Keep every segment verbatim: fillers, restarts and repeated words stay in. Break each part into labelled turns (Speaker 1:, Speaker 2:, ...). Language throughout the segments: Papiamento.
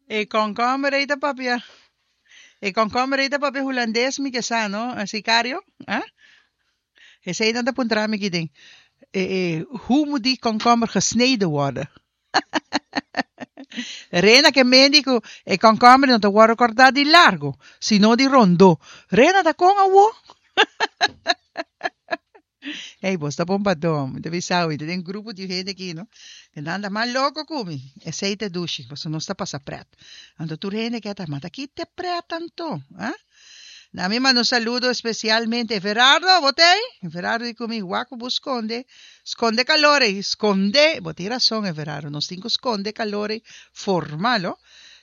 Speaker 1: E kònkòmber ei ta papia. E kònkòmber ei ta papia hulandes mi ke sa, no? Sicario? Ah? Esei nan ta puntra mi aki den. E, e, hoe moet die komkommer gesneden worden? Rena ke mendi ku e kònkòmber no ta wòrdu kòrtá di largu, sino di rondó. Rena ta kon awo? Hey, bos ta bon padó. Mi ta bisa mi ta den grupo di hende aki, no? E nan ta mas loko ku mi. Esei ta dushi, pasobra nos ta pasa pret. Anto tur hende ke ta, ma ta ki te pret anto? Ah? Na mi manda un saludo especialmente Everardo, bo ta ei? Everardo di ku mi, wak ku bo skonde, skonde kalor ei, skonde, bo tin rason Everardo, nos tin ku skonde kalor ei formal ho.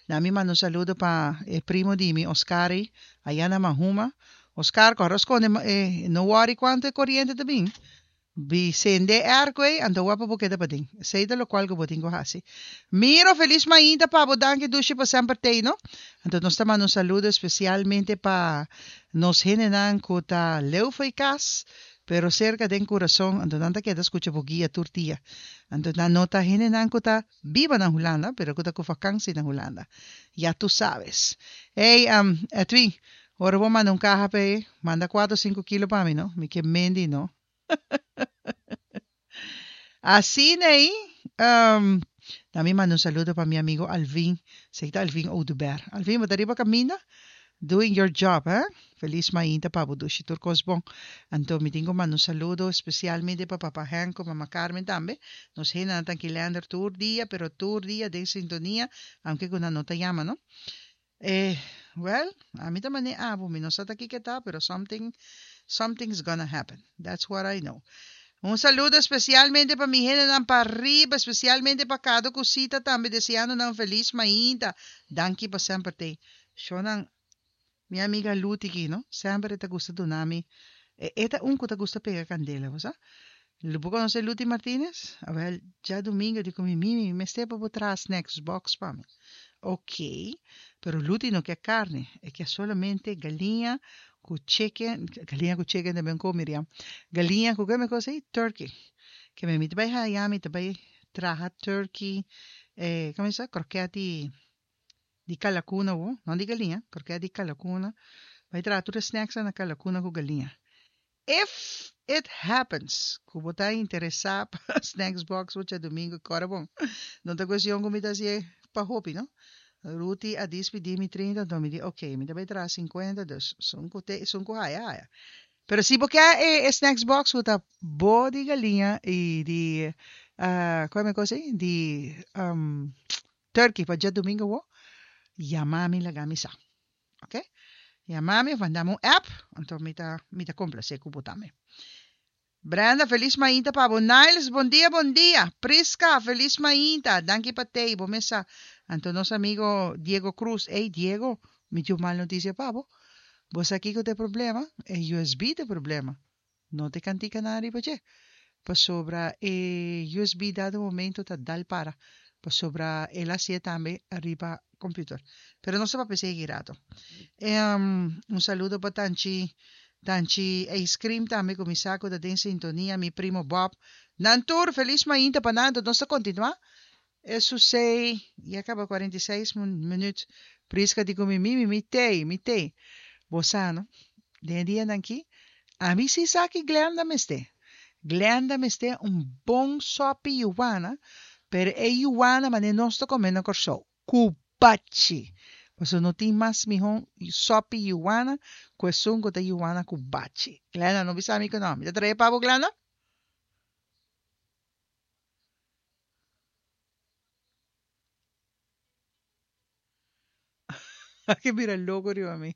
Speaker 1: Na mi manda un saludo pa e primo di mi Oscar ei, aya na Mahuma. Oscar, kòrda skonde e, no wòri kuantu e koriente ta bin. Bi sende airco ei, anto wak pa bo keda paden. Esei ta lokual ku bo tin ku hasi. Miro, felis mainta pa bo, danki dushi pa semper t'ei no. Anto nos ta manda un saludo espesialmente pa nos hendenan ku ta leu fo'i kas, pero serka den kurason, anto nan ta keda skucha bo guia tur dia. Anto nan no ta hendenan ku ta biba na Hulanda, pero ku ta ku vakansi na Hulanda. Ya tu sabes. Ey, Edwin, ora bo manda un kaha p'e, manda kuater o sinku kilo pa mi no, mi ke mendi no. Asina ei, um, na mi manda un saludo pa mi amigo Alvin, sey ta Alvin Oduber. Alvin, bo ta riba caminda? Doing your job, eh? Feliz mainta pa bo dushi tur cos bon. Anto mi tin cu manda un saludo especialmente pa papa Henk cu mama Carmen tambe. Nos hendenan ta kilander tur dia, pero tur dia den sintonia, aunke cu nan no ta yama, no? Eh, well, ami ta man'é abo, mi no sa ta kiko ta, pero something, something's gonna happen. That's what I know. Un saludo especialmente pa mi hendenan pa riba, especialmente pa Kado cu Sita tambe, deseando nan un feliz mainta. Danki pa semper t'ey. Shownan, mi amiga Luti aki, no? Semper e ta gusta duna mi, e, e ta un cu ta gusta pega candela, bo sa? Bo conoce Luti Martinez? Awel, djadumingo di cu mi, Mimi, mi mester pa bo traha snacks box pa mi. Ok, pero Luti no ke carne, e ke solamente galiña cu chicken, galiña cu chicken tambe un co, Miriam. Galiña cu ke cosa ey? Turkey. Ke mi ta bay haya, mi ta bay traha turkey, eh, como sa, kroket di, di kalakuna wo, no di galiña, kroket di kalakuna. Bay traha tur e snacks na kalakuna cu galiña. If it happens ku bo ta interesá pa snacks box bo djadumingu kòrda bon. No ta kuestion ku mi ta hasié pa hopi no. Ruti a dispidí mi trinta anto mi di ok mi ta bai traha sinkuenta dus esun ku te esun ku haya haya. Pero si bo ke e snacks box ku ta bo di galiña i di kua mi kos ei di turkey pa djadumingu awo yama mi laga mi sa. Ok yama mi of mandami un app anto mi ta mi ta complacé cu bo tambe. Brenda feliz mainta pa bo. Niles bon dia bon dia. Prisca feliz mainta danki pa tey bo mesa. Anto nos amigo Diego Cruz ey Diego mi tin un mal noticia pa bo. Bo sa kico ta e problema? E U S B ta e problema. No ta e cantica nan riba dje. Pasobra e U S B dado momento ta dal para pasobra el a hacié tambe riba computer. Pero nos ta papia esey rato. Un saludo pa Tanchi Tanchi Ice Cream tambe cu mi sa cu ta den sintonia mi primo Bob. Nan tur feliz mainta pa nan nos ta continua. Eso sei ya caba cuarenta y seis minuut. Prisca di cu mi mi mi tey mi tey. Bo sa no den e dianan aki ami si sa ki Glenda mester. Glenda mester un bon sopi yuwana pero e yuwana manera nos ta come na Corsou cu bachi. Pasobra no tin mas miho sopi yuwana cu esun cu ta yuwana cu bachi. Glenda no bisa mi cu no. Mi ta trae pa bo Glenda? A ke bira loco riba mi.